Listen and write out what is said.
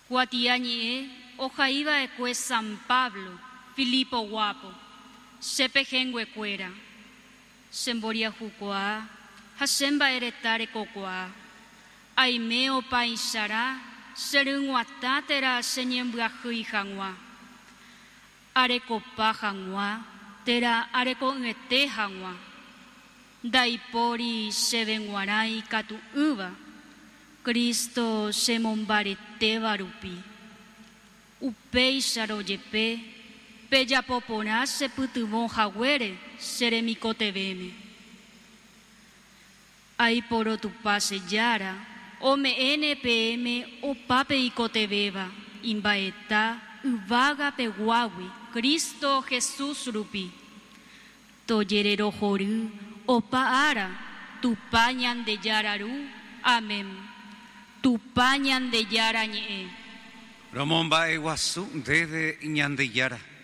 Kuatiañe'ẽ ohaiva'ekue San Pablo, Filipo guápo, che pehẽnguekuéra, che mboriahukuaa ha che mba'ereta rekokuaa. Aime opaicharã che ryg̃uatã térã che ñembyahýi hag̃ua, arekopa hag̃ua térã areko'ỹete hag̃ua. Ndaipóri chéve g̃uarã ikatu'ỹva, Cristo chemombaretéva rupi. Upéicharõ jepe, pejapo porã chepytyvõ haguére che remikotevẽme. Aiporo Tupã che Jára, ome'ẽne peẽme opa peikotevẽva imba'eta yvága peguágui Cristo Jesús rupi. Tojererohory opa ára Tupã Ñandejára Ru. Amén. Tupã Ñandejára ñe'ẽ. Romomba'eguasu ndéve Ñandejára.